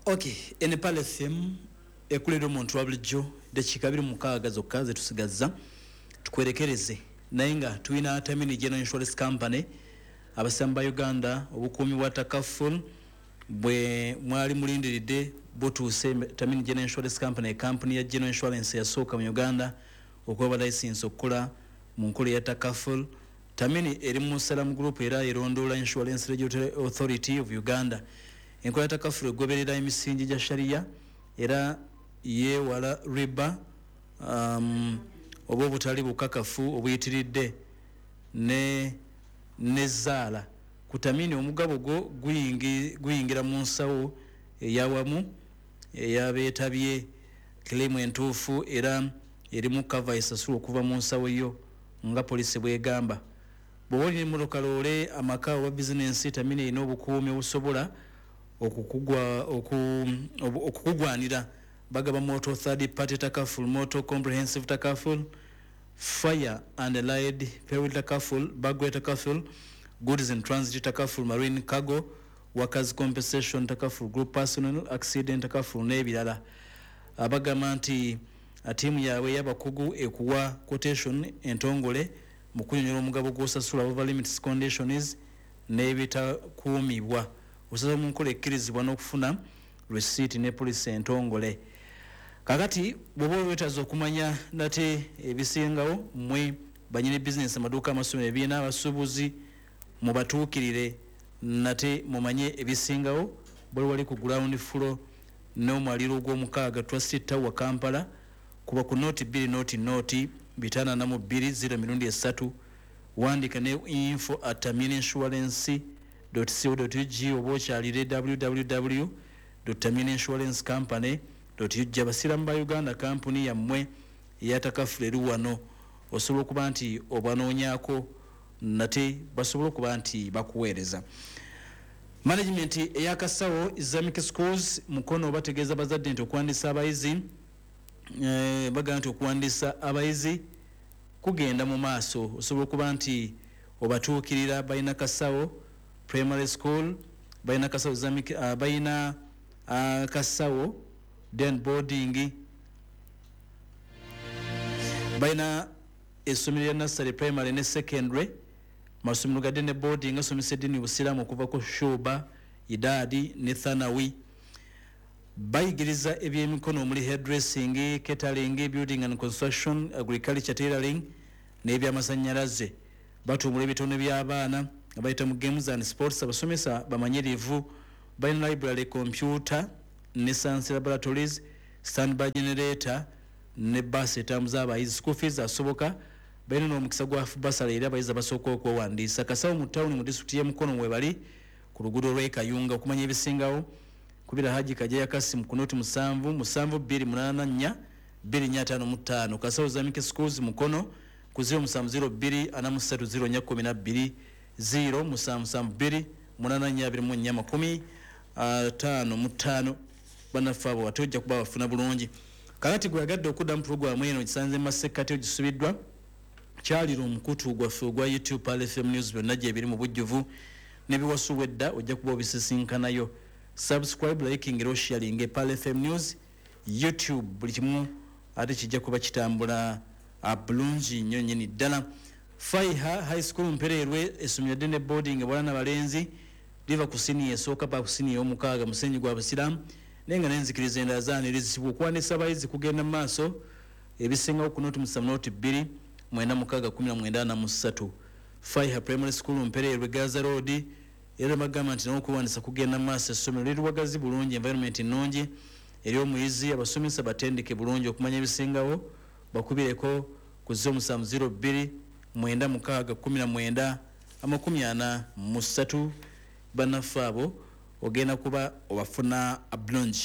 Okay, ene Pearl FM ekulera omuntu wa bulijjo. Dakiika 26 zokka zetusigazza tukwerekereze, naye nga tulina Tamini General Insurance Company. Abasiraamu ba Uganda, obukuumi bwa takaful bwe mwali mulindiridde butuuse. Tamini General Insurance Company, kampuni ya general insurance yasooka mu Uganda okuba license okukola mu nkola eya takaful. Tamini eri mu Salam Group era erondoola Insurance Regulatory Authority of Uganda. Enkola ya takaful egoberera emisingi gya sharia era yeewala riba oba obutali bukakafu obuyitiridde ne nezaala. Ku Tamini, omugabo gwo guyingira mu nsawo eyawamu eyabeetabye. Claim entuufu era erimu cover esasulwa okuva mu nsawo yo nga policy bwegamba. Bw'oba olina emmotoka, loole, amaka oba bizinensi, Tamini erina obukuumi obusobola okukugwanira. Bagaba motor third party takaful, motor comprehensive takaful, fire and allied peril takaful, burglary takaful, goods in transit takaful, marine cargo, workers compensation takaful, group personal accident takaful n'ebirala. Abagamba nti tiimu yaabwe ey'abakugu ekuwa quotation entongole mu kunyonyola omugabo gw'osasula, over limits, conditions n'ebitakuumibwa. Osasula mu nkola ekkirizibwa n'okufuna receipt ne policy entongole. Kakati bw'oba wetaaza okumanya nate ebisingawo, mmwe banyini bizinesi, amaduuka, amasomero, ebibiina, abasuubuzi, mubatuukirire nate mumanye ebisingawo. Bali wali ku ground floor n'omwaliro ogw'omukaaga, Trust Tower, Kampala. Kuba ku 0 2 0 0 542 0 mirundi esatu. Wandika ne info@tamininsurance.co.ug oba okyalire www.tamininsurancecompany.ug. Abasiraamu ba Uganda, kampuni yammwe eyatakafula eri wano. Osobola okuba nti obanoonyaako nate basobola okuba nti bakuweereza. Management eyakasawo Islamic Schools Mukono bategeeza bazadde nti okuwandiisa abayizi, bagamba nti okuwandiisa abayizi kugenda mu maaso. Osobola okuba nti obatuukirira. Balina Kasawo Primary School, balina Kasawo Islamic, balina Kasawo then boarding, balina essomero lya nursery, primary ne secondary, masomero gadde ne boarding asomesa eddiini Busiraamu okuva ku shuba, idaadi ne thanawi. Bayigiriza ebyemikono omuli hairdressing, catering, building and construction, agriculture, tailoring n'ebyamasanyalaze. Batumbula ebitone by'abaana nga bayita mu games and sports. Abasomesa bamanyirivu. Balina library, computer ne science laboratories, standby generator ne baasi etambuza abayizi. School fees asoboka. Balina n'omukisa gwa bursary eri abayizi abasooka okwewandiisa. Kasawo mu tawuni mu disitulikiti y'e Mukono webali ku luguudo lw'e Kayunga. Okumanya ebisingawo, kubira Haji Kajeya Kasimu ku 0 7 7 2 8 4 2 5 55. Kasawo Islamic Schools Mukono ku 0702 43 04 12, 0772 84 24 55. Bannaffe abo ate ojja kuba bafuna bulungi. Kakati gweyagadde okuddamu puroguramu eno gisanze masekkati ogisubiddwa, kyalira omukutu gwaffe ogwa YouTube, Pearl FM News. Byonna gyebiri mu bujjuvu nebiwasubwa edda ojja kuba obisisinkanayo. Subscribe, liking era osharing Pearl FM News YouTube. Buli kimu ate kijja kuba kitambula bulungi nnyo nnyini ddala. Faiha High School Mpereerwe, essomero ddene boarding, bwala nabalenzi, liva ku siniya esooka paka ku siniya ey'omukaaga, musenyi gwa busiraamu naye nga nenzikiriza endala zaanirizibwa. Okuwandiisa abayizi kugenda mu maaso. Ebisingawo ku 0 7 0 2 96 19 43. Faiha Primary School Mpereerwe, Gaza Road. Era bagamba nti nawo okuwandiisa kugenda mu maaso. Essomero liri wagazi bulungi, environment nnungi eri omuyizi, abasomesa batendeke bulungi. Okumanya ebisingawo, bakubireko ku 0702 96 19 43. Bannaffe abo ogenda kuba obafuna bulungi.